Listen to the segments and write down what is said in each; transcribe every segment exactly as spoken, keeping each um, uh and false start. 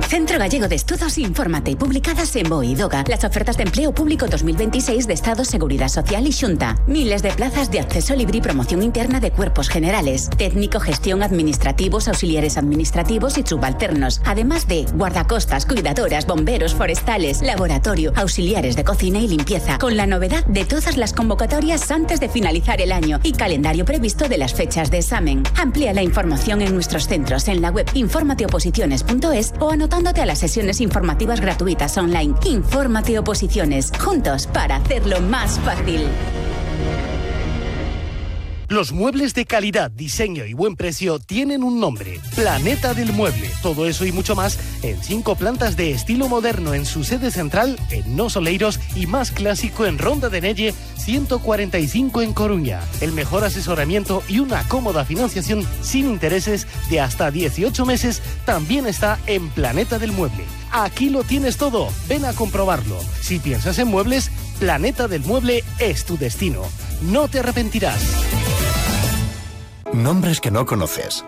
Centro Gallego de Estudos Infórmate, publicadas en B O E y DOGA. Las ofertas de empleo público dos mil veintiséis de Estado, Seguridad Social y Xunta. Miles de plazas de acceso libre y promoción interna de cuerpos generales. Técnico, gestión, administrativos, auxiliares administrativos y subalternos. Además de guardacostas, cuidadoras, bomberos, forestales, laboratorio, auxiliares de cocina y limpieza. Con la novedad de todas las convocatorias antes de finalizar el año y calendario previsto de las fechas de examen. Amplía la información en nuestros centros en la web informateoposiciones punto es o anotándote a las sesiones informativas gratuitas online. Infórmate Oposiciones, juntos para hacerlo más fácil. Los muebles de calidad, diseño y buen precio tienen un nombre: Planeta del Mueble. Todo eso y mucho más en cinco plantas de estilo moderno en su sede central en Nos Oleiros y más clásico en Ronda de Nelle ciento cuarenta y cinco en Coruña. El mejor asesoramiento y una cómoda financiación sin intereses de hasta dieciocho meses también está en Planeta del Mueble. Aquí lo tienes todo, ven a comprobarlo. Si piensas en muebles, Planeta del Mueble es tu destino. No te arrepentirás. Nombres que no conoces.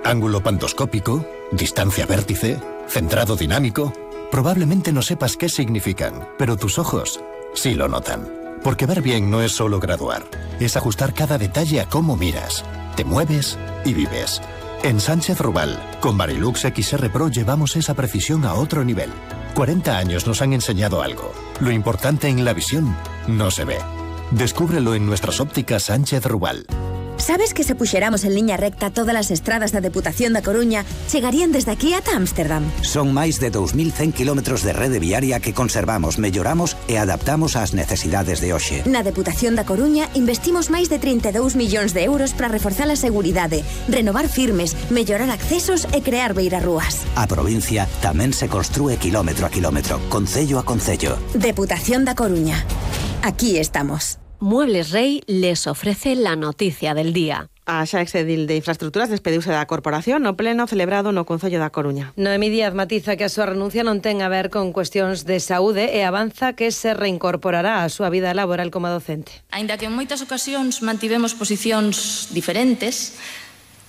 Ángulo pantoscópico, distancia vértice, centrado dinámico. Probablemente no sepas qué significan, pero tus ojos sí lo notan. Porque ver bien no es solo graduar, es ajustar cada detalle a cómo miras, te mueves y vives. En Sánchez Rubal, con Varilux X R Pro llevamos esa precisión a otro nivel. cuarenta años nos han enseñado algo. Lo importante en la visión no se ve. Descúbrelo en nuestras ópticas Sánchez Rubal. Sabes que se puxeramos en liña recta todas as estradas da Deputación da Coruña chegarían desde aquí ata Ámsterdam? Son máis de dous mil cen kilómetros de rede viaria que conservamos, melloramos e adaptamos ás necesidades de hoxe. Na Deputación da Coruña investimos máis de trinta e dous millóns de euros para reforzar a seguridade, renovar firmes, mellorar accesos e crear beirarrúas. A provincia tamén se construe kilómetro a kilómetro, concello a concello. Deputación da Coruña. Aquí estamos. Muebles Rey les ofrece la noticia del día. A xa exedil de Infraestructuras despediuse da corporación no pleno celebrado no Concello da Coruña. Noemí Díaz matiza que a súa renuncia non ten a ver con cuestións de saúde e avanza que se reincorporará á súa vida laboral como docente. Aínda que en moitas ocasións mantivemos posicións diferentes,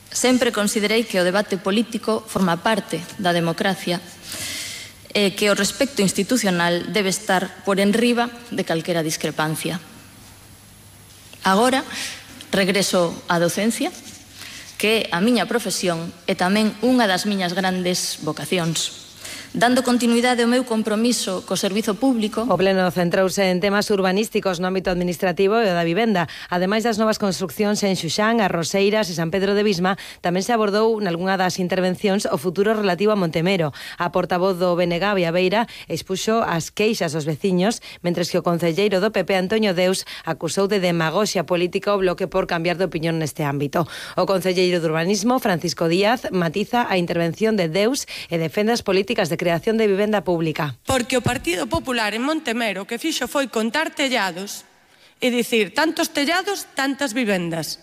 sempre considerei que o debate político forma parte da democracia e que o respecto institucional debe estar por enriba de calquera discrepancia. Agora regreso á docencia, que é a miña profesión e tamén unha das miñas grandes vocacións. Dando continuidade ao meu compromiso co servizo público. O pleno centrouse en temas urbanísticos no ámbito administrativo e o da vivenda. Ademais das novas construccións en Xuxán, As Roseiras e San Pedro de Visma, tamén se abordou nalgunha das intervencións o futuro relativo a Montemero. A portavoz do B N G Bea Beira expuxo as queixas dos veciños, mentres que o concelleiro do P P, Antonio Deus, acusou de demagoxia política o Bloque por cambiar de opinión neste ámbito. O concelleiro de Urbanismo, Francisco Díaz, matiza a intervención de Deus e defende as políticas de creación de vivenda pública. Porque o Partido Popular en Montemero que fixo foi contar tellados e dicir tantos tellados, tantas vivendas,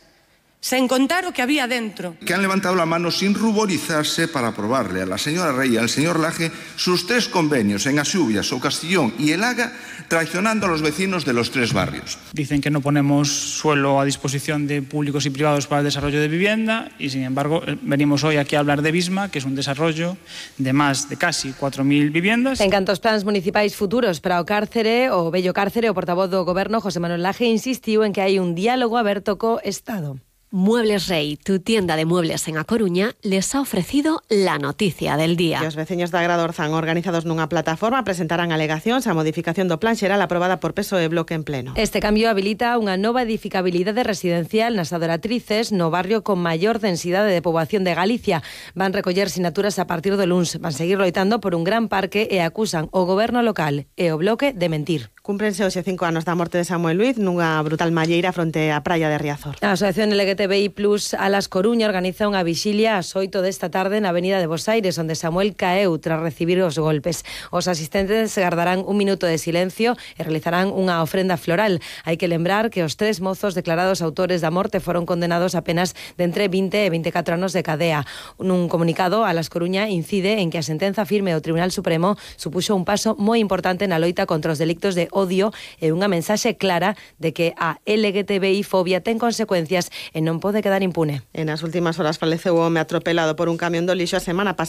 sen contar o que había dentro. Que han levantado la mano sin ruborizarse para aprobarle a la señora Rey y al señor Laje sus tres convenios en Axubias, o Castellón y el Haga, traicionando a los vecinos de los tres barrios. Dicen que no ponemos suelo a disposición de públicos y privados para el desarrollo de vivienda y, sin embargo, venimos hoy aquí a hablar de Visma, que es un desarrollo de más de casi cuatro mil viviendas. En canto aos plans municipais futuros para o cárcere, o vello cárcere, o portavoz do Goberno, José Manuel Laje, insistiu en que hai un diálogo aberto co Estado. Muebles Rey, tu tienda de muebles en A Coruña, les ha ofrecido la noticia del día. E os veciños da Gradorzán, organizados nunha plataforma, presentarán alegacións á modificación do plan xeral aprobada por P S O E Bloque en pleno. Este cambio habilita unha nova edificabilidade residencial nas Adoratrices, no barrio con maior densidade de poboación de Galicia. Van recoller sinaturas a partir do luns. Van seguir loitando por un gran parque e acusan o goberno local e o Bloque de mentir. Cúmprense hoxe cinco anos da morte de Samuel Luiz nunha brutal malleira fronte á praia de Riazor. A Asociación L G T B I Plus Alas Coruña organiza unha vixilia ás oito desta tarde na Avenida de Bos Aires, onde Samuel caeu tras recibir os golpes. Os asistentes gardarán un minuto de silencio e realizarán unha ofrenda floral. Hai que lembrar que os tres mozos declarados autores da morte foron condenados a penas de entre vinte e veinticatro anos de cadea. Nun comunicado, Alas Coruña incide en que a sentenza firme do Tribunal Supremo supuxo un paso moi importante na loita contra os delictos de odio e unha mensaxe clara de que a L G T B I fobia ten consecuencias e non pode quedar impune. En as últimas horas faleceu o home atropelado por un camión do lixo a semana pasada.